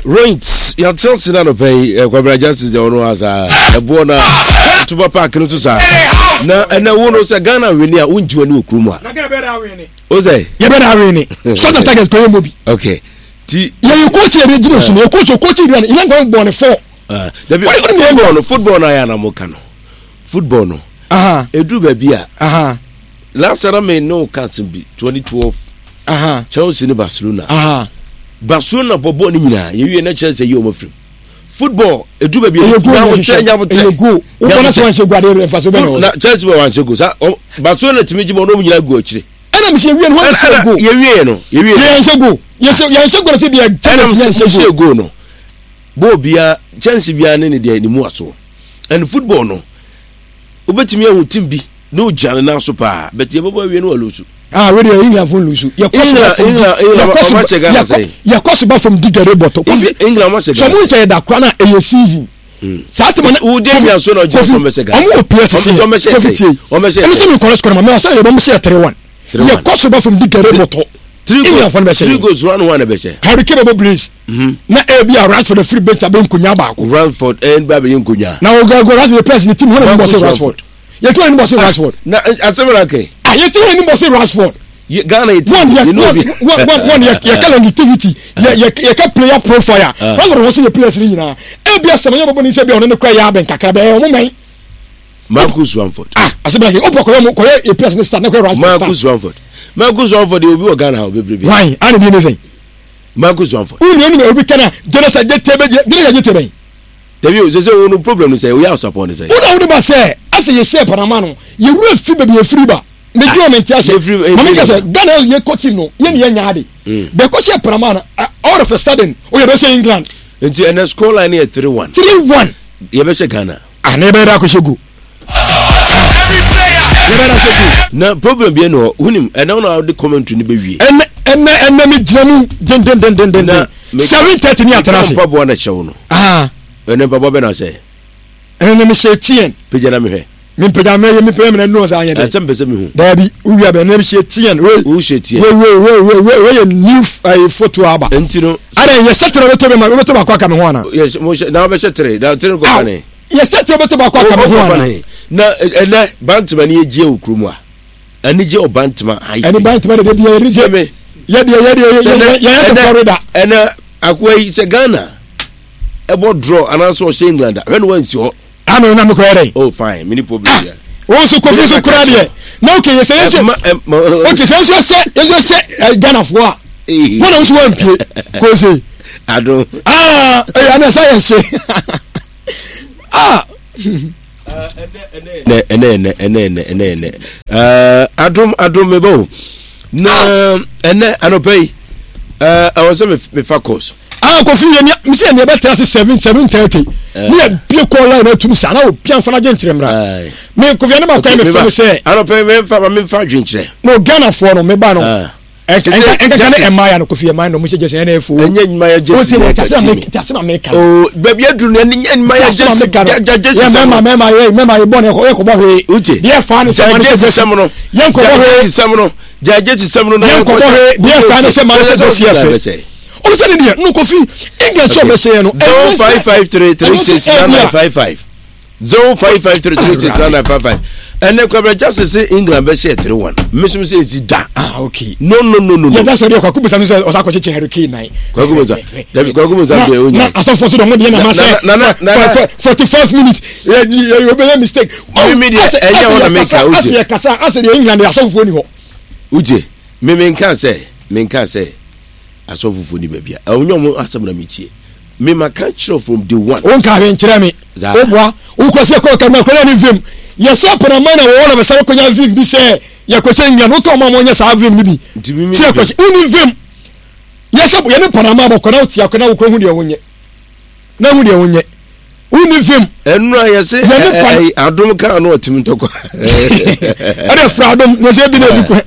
Rent yɛatena ase no anɔpa yi eh, Kwabena Justice deɛ ɔno a saa ɛboɔ no a tuba park no so saa na ɛnɛ wo no sɛ Ghana wene a wongye w'ani wɔ kurom a wo sɛ yɛbɛda awene short of target kɔyɛ mmɔ bi okay ti yɛyɛ coach yɛde gyina so no yɛ coach coach Iran Iran kɔyɛ bɔne fɔ ah, dabi football no football no ayɛ anamo ka no football no ɛduru baabi a last na me ne wo ka asɛm bi 2012 Chelsea ne Barcelona Barcelona bɔ bɔɔl no nyinaa yɛwie na kyerɛ sɛ yɛ ɔma firim football ɛduru baabi a nyabotrɛ nyabotrɛ na Chelsea bɛ wanhyɛ go sa Barcelona tumi gye bɔ na ɔmo nyinaa gu akyire ɛna mesi yɛwie no wɔn hyɛ go yɛwie no yɛwie yɛn hyɛ go yɛn hyɛ go na sɛ deɛ Chelsea yɛn hyɛ go no bɔɔl biara chance biara ne ne deɛ ne mu asoɔ and football no wobɛtumi ahu team bi na ogyina ne nan so paa but yɛbɛbɔ awie no walusu. Ah, wei deɛ England fo nlusu. Yɛkɔ so ba fam di yɛkɔ so yɛkɔ yɛkɔ so ba fam di gare bɔtɔ. Kofi England ma hyɛ Ghana. Sɛ ɔmo nsɛ yɛ da kora na ɛyɛ season. Hmm. Saa tɛmɛ na Kofi Kofi ɔmo wɔ players si Kofi tie. Ɛno sɛ mi kɔrɔ sukɔrɔ ma mɛ ɔsɛ yɛ bɔ mo sɛ yɛ 3-1. Yɛkɔ so ba fam di gare bɔtɔ. England fo no bɛhyɛ. Three goals one one bɛhyɛ. Harry Kane bɛbɔ brace. Mhm. Na ebi a Rashford afiri bench abɛ nkonya baako. Rashford ɛn ba bɛyɛ nkonya. Na o gɛ Rashford yɛ players ne team hɔn na bɔ se Rashford. Yɛ team hɔn bɔ se Rashford. Na asɛm na kɛ. Ah yɛ team hɔn bɔ se Rashford. Ghana yɛ team. One yɛ one one one yɛ yɛ ka longevity yɛ yɛ yɛ ka player profile. Ah. Rashford wɔ se yɛ players ne nyinaa. Ebi asɛm yɛ bɔbɔ ne nsa bi a ɔno ne kura yɛ abɛn kakra bɛyɛ ɔmo mɛn. Marcus Ramford. Ah, ase bɛn o pɔ kɔyɛ mo kɔyɛ yɛ players ne start ne kɔyɛ Rashford start. Marcus Ramford. Marcus Ramford yɛ obi wɔ Ghana ha bebrebe. Why? Ana bi ne sɛn? Marcus Ramford. Wo nua nua obi kana Jonathan Jete bɛ Jonathan Jete bɛn. Dabi o sɛ sɛ wo no problem no sɛ oyɛ asapɔ ne sɛ. Wo na wo ne ba sɛ asɛ yɛ hyɛ Panama no yɛ wura fi baabi yɛ firi ba. Me dwen me nte ase. Mame ka sɛ Ghana yɛ kɔ team no yɛ ne yɛ nya ade. Bɛ kɔ hyɛ Panama no all of a sudden o yɛ bɛ hyɛ England. Nti ɛnɛ score line yɛ 3-1. 3-1. Yɛ bɛ hyɛ Ghana. Ah na yɛbɛyɛ dɛ akɔhyɛ go. Na problem bi ɛna hɔ wonim ɛna na wode commentary no bɛwie. Ɛnɛ ɛnɛ ɛnɛ me gyina mu dendendendenden. 7:30 ni atena ase. Mpaboa na kyɛw no. Ah. Ɛnɛ mpaboa bɛ na sɛ. Ɛnɛ me hyɛ TN. Pagya na mehwɛ. Me mpagya me yɛ me mpagya me na nu ɔsa anyɛ dɛ. Ɛsɛ mpɛ sɛ mehu. Daabi wowia bɛ ɛnɛ me hyɛ TN. Wei. Wo hyɛ TN. Wei wei wei wei wei wei yɛ new ɛyɛ photo aba. Nti no. Ada yɛ hyɛ tere wobɛtɔ bɛ ma wobɛtɔ baako aka me ho ana. Yɛ mo hyɛ na wobɛhyɛ tere na tere kɔ ne. Yɛ sɛ tí o bɛ tó baako aka mi ho ana. Na ɛnɛ bantama ni egye wɔ kurom a anigye wɔ bantama ayi. Ɛni bantama de de bi yɛ yɛ yɛ deɛ yɛ deɛ yɛ yɛ yɛ te Florida. Ɛnɛ akoa yi sɛ Ghana ɛbɔ draw anaasɛ ɔhyɛ England a hwɛ no wansi hɔ. Ami na mi kɔ yɛ dɛ. Oh fine mi ni problem ah, yɛ. Wɔn nso kofi nso kura deɛ na oke yɛ sɛ yɛ sɛ oke sɛ nso sɛ yɛ nso sɛ ɛ Ghana foɔ a wɔn na nso wɔn mpie kose. Ado. Aa ɛyɛ ɛna sɛ yɛ se. Ah! Ɛnɛ ɛnɛ ɛnɛ ɛnɛ ɛnɛ ɛnɛ ɛnɛ ɛɛ adom adom meba o na ɛnɛ anɔpa yi ɛɛ ɛwɔ sɛ mefa course. Ah kofi yɛ nea mesi yɛ nea ɛbɛtena ase 7:7:30 ne yɛ bie kɔɔ line atum saa na obi anfa n'adwenkyerɛ mmra me kofi ɛne baako yɛ me fɛ no sɛ. Anɔpa yi mefa ma mefa adwenkyerɛ. No Ghana foɔ no meba no. Ɛnkaka ne ɛmaa ya no kofi ɛmaa no mo hyɛ gyesi ɛna efo. Ɛnyɛ nyuma yɛ gyesi yɛ ka ti mi. Ti asem ameka. Oo baabi aduru no ɛnyɛ nyuma yɛ gyesi gya gyesi sɛm. Yɛ mɛma mɛma yɛ mɛma yɛ bɔ ne yɛ kɔbɔ hwee. Uche. Deɛ fa ne sɛ ma ne sɛ gyesi sɛm no. Yɛn kɔbɔ hwee. Gya gyesi sɛm no. Gya gyesi sɛm no. Yɛn kɔbɔ hwee. Deɛ fa ne sɛ ma ne sɛ gyesi yɛ fɛ. Ɔno sɛ ne deɛ no kofi England sɛ ɔbɛhyɛ yɛ no. 0553369955. 0553369955 ɛnɛ kwabra justice sɛ england bɛhyɛ 3-1 mesom sɛ ɛsi da ah okay no no no no yɛda sɛ deɛ kwaku bisa no sɛ ɔsa kɔkyekyere Harry Kane nan kwaku bisa dabi kwaku bisa deɛ onya na asɔfoɔ so dɔn deɛ na ma sɛ 45 minutes yɛ yɛ mistake mi deɛ ɛnyɛ hɔ na meka wogye asɛ yɛ kasa asɛ deɛ england asɔfoɔ ni hɔ wogye me menka sɛ menka sɛ asɔfofoɔ ni baabi a ɛnyɛ ɔmo asɛm na metie Me ma ka kyerɛ from day one. Wo nka hwee nkyerɛ me. Wo boa. Wo kɔ sɛ kɔ kama kɔ ne vim. Yɛ sɛ panama na wɔwɔ na bɛsɛ kɔ nya vim bi sɛ yɛ kɔ sɛ England wo ka ɔmo a wɔnyɛ saa vim no bi. Sɛ yɛ kɔ sɛ wo ni vim. Yɛ sɛ yɛ ne panama bɔ kɔ na wo tia kɔ na wo kɔ hu deɛ wo nyɛ. Na hu deɛ wo nyɛ. Wo ni vim. Ɛnu a yɛ se adom kaa no ɔtim ntɔkwa. Ɛna fura adom na sɛ ebi na ebi kɔ.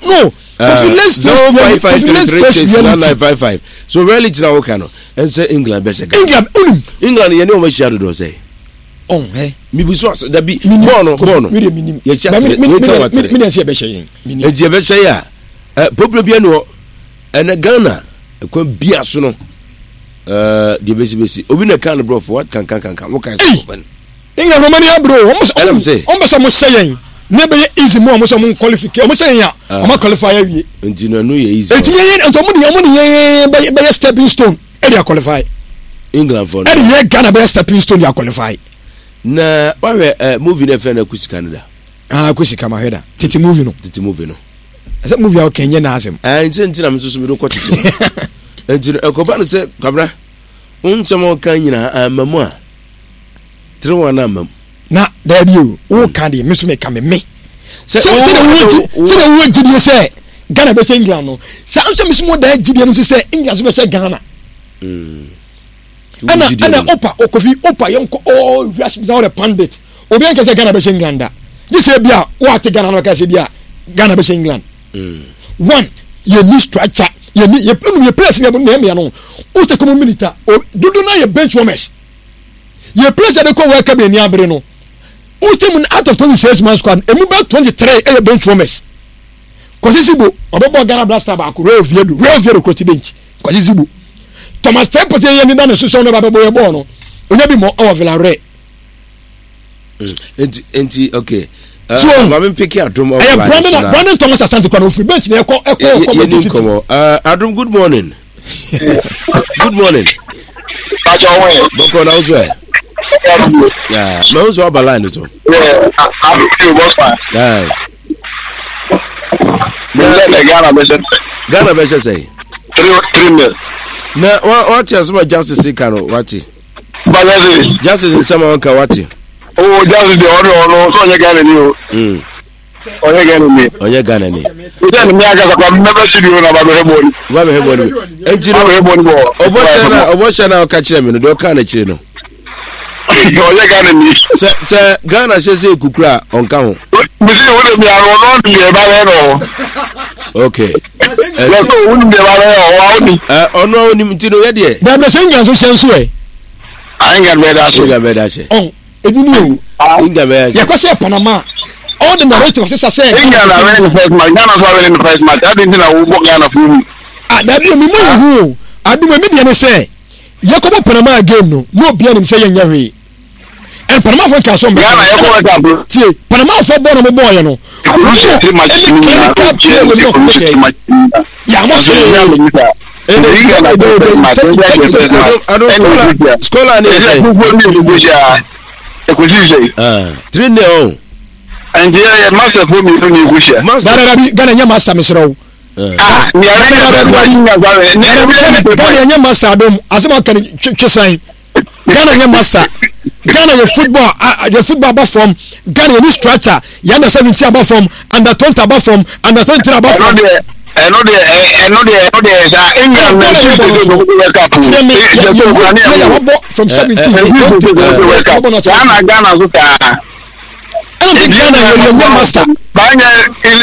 No. Kofi let's face Kofi let's face reality. So reality na woka no ɛnsɛ England bɛhyɛ Ghana. England onim. England yɛ ne wɔn ahyia dodoɔ sɛ. Ɔn hɛ. Mibi so ase dabi bɔɔl no bɔɔl no. Mi de mi nim. Yɛhyia tere mi ka wa tere. Mi de ɛsɛ yɛbɛhyɛ yɛn. Nti yɛbɛhyɛ yɛ a ɛ problem bi ɛni hɔ ɛnɛ Ghana ɛkwan bia so no. Ɛɛ deɛ bɛsi bɛsi obi na ɛka no borɔfo wa kankan kankan wo kan sɛ ɔbɛn. England wɔn ani abere o wɔn sɛ wɔn bɛ sɛ wɔn hyɛ yɛn ne bɛyɛ easy mu a wɔn sɛ wɔn qualify wɔn hyɛ yɛn a wɔn qualify awie. Nti na no yɛ easy. Eti yɛn yɛn nti wɔn de wɔn de yɛn bɛyɛ bɛyɛ stepping stone ɛde aqualify. England fɔ no. Ɛde yɛ Ghana bɛyɛ stepping stone de aqualify. Na wahwɛ ɛ movie na ɛfɛ na kusika no da. Ah kusika ma hwɛ da tete movie no. Tete movie no. Ɛsɛ movie a ɔkɛn nyɛ n'asɛm. Ɛɛ nti nti na mi nso so mi do kɔ tete no. Nti no ɛkɔba no sɛ kwabena wo nsɛm a ɔka nyinaa amma mu a 3-1 amma mu. Na daabi o wo ka deɛ me so me ka me me. Sɛ sɛ wo gyidie sɛ Ghana bɛhyɛ England no saa nso me so mo daa gyidie no nso sɛ England so bɛhyɛ Ghana. Mm. Ɛna ɛna opa okofi opa yɛn kɔ ɔɔ wiase gyina ɔlɛ pandit obi anka sɛ Ghana bɛhyɛ England da gye sɛ bi a wɔate Ghana no bɛka sɛ bi a Ghana bɛhyɛ England. Mm. One yɛ ni structure yɛ ni yɛ yɛ players yɛ na ɛmɛ no o tɛ kɔmɔ minita o dodo na yɛ bench warmers yɛ players yɛ de kɔ World Cup yɛ ni abere no o tɛ mu out of 26 man squad emu bɛ 23 ɛyɛ bench warmers Kwasi Sibo ɔbɛbɔ Ghana Black Star baako Real Oviedo Real Oviedo kuro ti bench Kwasi Sibo Thomas Teye yɛ ni da ne so sɛ ɔno ba bɛbɔ yɛ bɔɔl no onya bi mɔ ɛwɔ Villarreal. Nti nti okay. Uh, so maame mpeke adum ɛyɛ Brandon Brandon Thomas Asante kwan ofiri bench na ɛkɔ ɛkɔ ɛkɔ Manchester City. Uh, adum good morning. good morning. Pàtó ọwọ́ yẹn. Bọ́kọ̀ náà sọ ẹ̀. Mẹ n sọ ọba line so. Ghana bẹ ṣe. Ghana bẹ ṣe sẹ. 3-0. Na wọ́n ti asọ́mọ justice kan wọ́n ti. Bàjẹ́ Justice nsɛm a ɔka wate. O Justice deɛ ɔno ɔno sɛ ɔnyɛ Ghana ni o. Ɔnyɛ Ghana ni. Ɔnyɛ Ghana ni. Sɛ ne mi akasa kwa mmɛbɛ studio na ba bɛhwɛ bɔɔl. Ba bɛhwɛ bɔɔl bi. Nti no ɔbɔ hyɛ na ɔbɔ hyɛ na ɔka kyerɛ mi no deɛ ɔka n'akyire no. Ɔnyɛ Ghana ni. Sɛ sɛ Ghana hyɛ sɛ ekukura a ɔnka ho. Mesi wo de mi ano ɔno ɔno deɛ ɛba bɛyɛ no. Okay. Yɛ sɛ wo nim deɛ ɛba bɛyɛ ɔwɔ awo ni. Ɔno a onim nti no yɛ deɛ. Bɛɛbɛ sɛ England nso hyɛ nso ɛ. England bɛyɛ da ahyɛ. England bɛyɛ da ahyɛ. Ɔn ebi ni o. England bɛyɛ ahyɛ. Yɛkɔ sɛ Panama all the narrative asesa sɛ. England awɛ ne first match Ghana nso awɛ ne first match adi nti na wobɔ Ghana fo mu. Ah dabi o mi mu ehu o adum emi deɛ ne sɛ yɛkɔbɔ Panama game no na obiara nim sɛ yɛnyɛ hwee. And Panama fo nka so mbɛ. Ghana yɛkɔ World Cup. Tie Panama fo bɔ na mo bɔɔ yɛ no. Rusia ɛne clinical play wɔ mu ɔkɔ hyɛ yɛ amɔ hyɛ. Scholar ni sɛ. 3-0 o. Nti yɛ master fo mmienu ni ekuhyia. Master dabi Ghana nyɛ master mesrɛ wo. Ghana nyɛ master adom asɛm aka no twe san. Ghana nyɛ master Ghana yɛ football yɛ football aba fam Ghana yɛ ni structure yɛ under 17 aba fam under 20 aba fam under 23 aba fam. Ɛno deɛ ɛno deɛ ɛno deɛ sa England na ɛsi sɛ sɛ ɔmo World Cup o. Kyerɛ mi yɛ yɛ wu player wabɔ from 17 20 wabɔ na kyerɛ. Ghana Ghana so saa. Ɛna sɛ Ghana yɛ yɛ nyɛ master. Banyɛ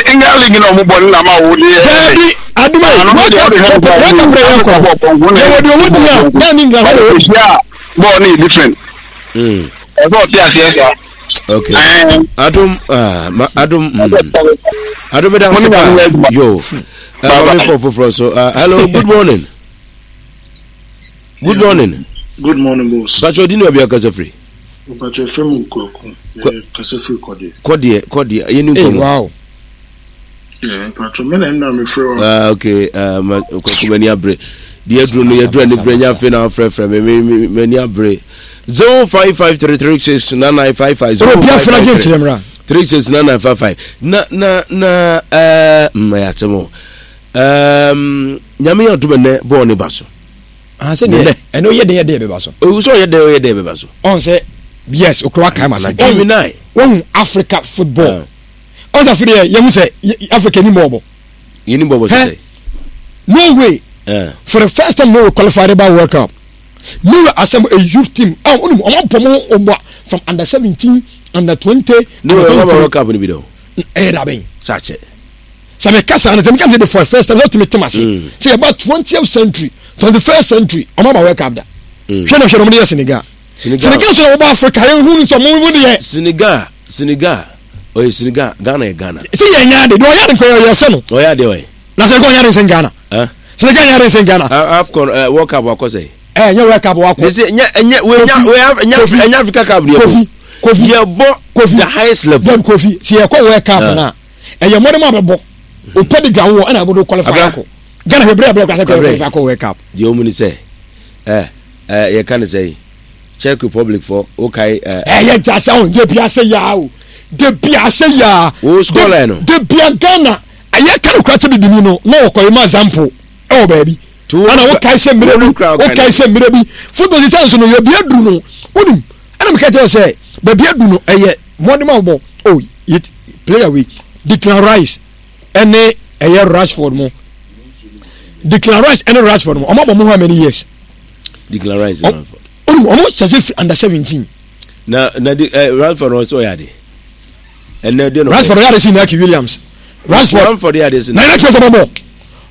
England league na ɔmo bɔ ne na ma wo deɛ. Daabi aduma yi World Cup World Cup rɛ yɛ kɔ yɛ wɔ deɛ ɔwɔ di a Ghana ni England hɔ de. Bɔɔl no yɛ different. Ɛsɛ ɔte aseɛ saa. Okay. Adum ah ma adum mm. Adum bɛ da ase pa yo. Maame fɔ foforɔ so. Hello good morning. Good morning. Good morning boss. Bàtchɛ ɔdi ni baabi akasa firi. Mpakyɛ fɛ mu kwaku. Kasa firi kɔdeɛ. Kɔdeɛ kɔdeɛ yɛ ni nkɔmɔ. Wow. Mpakyɛ mi na ɛna mi firi wa. Ah okay ah ma kwaku m'ani abere. Deɛ aduro no yɛduro ani bere nya afei na afrɛfrɛ me me m'ani abere. 0553369955. 0553 369955 na na na ɛɛ mma yɛ asɛm o. Ɛɛm nyame yɛ ɔdom ɛnɛ bɔɔl ne ba so. Ah, sɛ deɛ ɛnɛ ɔyɛ den yɛ den bɛba so. Owu sɛ ɔyɛ den ɔyɛ den bɛba so. Ɔn sɛ yes okura kae ma so. Ɔn wɔn Africa football. Ɔn sɛ afei deɛ yɛn ho sɛ Africa ni bɔɔbɔ. Yɛn ni bɔɔbɔ sɛ. No way. For the first time Norway qualified by World Cup. Norway assemble a youth team. Ah, ɔnum ɔmo abɔ mo ɔmo from under 17, under 20. Norway ɔmo abɔ World Cup ni bi dɛ o. Ɛyɛ dabɛn. Sakyɛ. Sɛ meka saa no, sɛ meka sɛ for the first time, sɛ wotumi tem ase. Mm. Sɛ yɛba 20th century, 21st century, ɔmo aba World Cup da. Mm. Hwɛ na hwɛ na ɔmo de yɛ Senegal. Senegal nso na wɔba Africa, yɛn hu nso ɔmo mu deɛ. Senegal, Senegal, ɔyɛ Senegal, Ghana yɛ Ghana. Sɛ yɛn nyɛ ade, deɛ ɔyɛ ade nkɔ yɛ sɛ no. Ɔyɛ ade ɔyɛ. Na Senegal ɔyɛ ade nsɛn Ghana. Senegal yɛ ade nsɛn Ghana. AFCON, World Cup wakɔ sɛ. Ɛ nyɛ World Cup wakɔ. Sɛ nyɛ nyɛ wei nya wei nya ɛnyɛ Africa Cup ni yɛ bɔ. Kofi Kofi yɛ bɔ Kofi the highest level. Dabi Kofi sɛ yɛ kɔ World Cup na ɛyɛ mɔden mu abɛbɔ o pɛ de dwa wɔ ɛna ɛbɔ do qualify akɔ. Ghana hwɛ bere a bere kura sɛ qualify akɔ World Cup. Deɛ ɔmu ni sɛ ɛ ɛ yɛ ka ne sɛ yi Czech Republic fɔ o ka yi ɛ. Ɛyɛ jasa o debi ase yaa o debi ase yaa. O score line no. Debi a Ghana ɛyɛ ka no kura kyɛ bibini no na ɔkɔ yi ma example ɛwɔ baabi. Ana wokae sɛ mmerɛ bi wokae sɛ mmerɛ bi football sisɛ nso no yɛ bi aduru no wonim ɛna meka kyerɛ sɛ baabi adu no ɛyɛ mmɔden ma wobɔ oh player wei Declan Rice ɛne ɛyɛ Rashford mo Declan Rice ɛne Rashford mo ɔmo abɔ mo how many years Declan Rice Rashford wonim ɔmo hyɛ sɛ under 17 na na de eh, Rashford ɔsɛ ɔyɛ ade ɛnɛ de no Rashford ɔyɛ ade si Naki Williams Rashford Rashford yɛ ade si na Naki Williams bɔ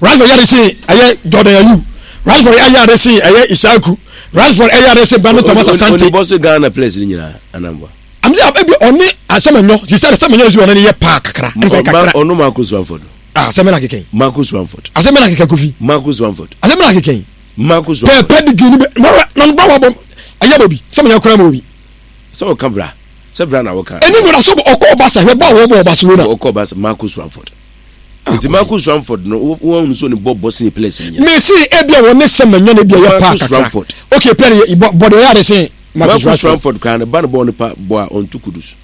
Rashford yɛ ade si ɛyɛ Jordan Ayew Rashford ɛyɛ ade si ɛyɛ Isaku Rashford ɛyɛ ade si Brandon Thomas Asante. Oni bɔ Ghana players ni nyinaa anambɔ. Àmì ebi ɔne asɛmɛnyɔ sisi asɛmɛnyɔ si ɔne ne yɛ paa kakra ɛnka kakra. Ɔno Marcus Rashford. Ah asɛmɛ na kekɛn. Marcus Rashford. Asɛmɛ na kekɛn Kofi. Marcus Rashford. Asɛmɛ na kekɛn. Marcus Rashford. Pɛɛ pedigree ni bɛ na na ba wa bɔ ɛyɛ bɔ bi sɛmɛnyɔ kura ma obi. Sɛ ɔka bra sɛ bra na wɔka. Ɛni mu na so ɔkɔ Barca hwɛ bɔ a wɔbɔ Barcelona. Ɔkɔ Barca Marcus Rashford. Ah, nti Marcus Rashford no wɔn ahunu so ne bɔ bɔ sini players ni nyina. Mesi ebi a wɔn ne sɛ mɛnyɛ na ebi a yɛ paa kakra. Okay player yɛ bɔ bɔ de yɛ ade sen Marcus Rashford. Marcus Rashford kan ne ba ne bɔ ne pa bɔ a ɔntu Kudus.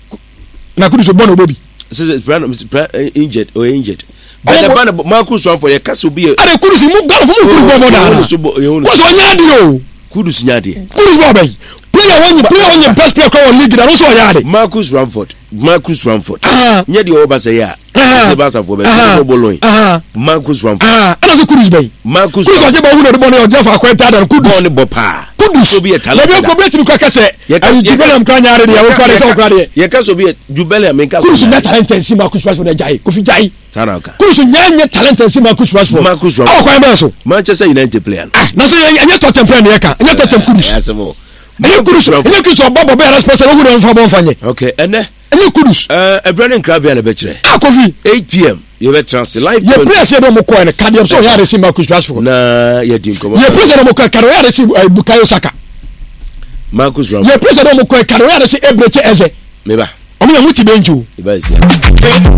Na Kudus bɔ na ɔbɔ bi. Sɛ pra pra injured ɔyɛ injured. Bɛn ba ne Marcus Rashford yɛ kasa obi yɛ. Ade Kudus mu Ghana fo mu Kudus bɔ bɔ daana. Kudus ɔnyɛ adeɛ o. Kudus nyɛ adeɛ. Kudus bɔ bɛyi. Player wɔn nye player wɔn nye best player kora wɔ league na ɔno ɔyɛ ade. Marcus Rashford Marcus Rashford. Nyɛ deɛ ɔwɔ Barca yɛ a. Ɛsɛ Barca foɔ bɛ sɛ bɔ lɔn. Marcus Rashford. Ɛna so Kudus bɛyi. Marcus Kudus ɔgye bɔ wúlò ɔde bɔ ne ɔgye fa akɔɛ dada Kudus. Bɔɔl ne bɔ paa. Kudus. Obi yɛ talent. Ebi obi etimi kura kɛsɛ. Ayi Juve kura nyaare deɛ okura deɛ sɛ okura deɛ. Yɛ kɛsɛ obi yɛ Juve mi nka. Kudus nyɛ talent nsi Marcus Rashford ɛgyae Kofi gyae. Sanni ɔka. Kudus nyɛ nyɛ talent nsi Marcus Rashford. Marcus Rashford. Ɛwɔ kwan bɛn so. Manchester United player no. Ah na so ɛnyɛ Tottenham player ni yɛ ka ɛnyɛ Tottenham Kudus. Ɛnyɛ Kudus ɛnyɛ Kudus ɔbɔ bɔ bɛyɛ response ɛwɔ wura nfa bɔ nfa nyɛ. Okay ɛnɛ. Ɛnyɛ Kudus. Ɛɛ ɛbrɛ ne nkira bia na ɛbɛkyerɛ. Ah Kofi. 8 pm yɛbɛtena ase live. Yɛ players yɛ dɛ ɔmo kɔɛ no kadeɛ sɛ ɔyɛ aresi Marcus Rashford. Na yɛ di nkɔmɔ. Yɛ players yɛ dɛ ɔmo kɔɛ kadeɛ ɔyɛ aresi Bukayo Saka. Marcus Rashford. Yɛ players yɛ dɛ ɔmo kɔɛ kadeɛ ɔyɛ aresi Eberechi Eze. Meba. Ɔmo yɛ mo ti bench o. Eba esi.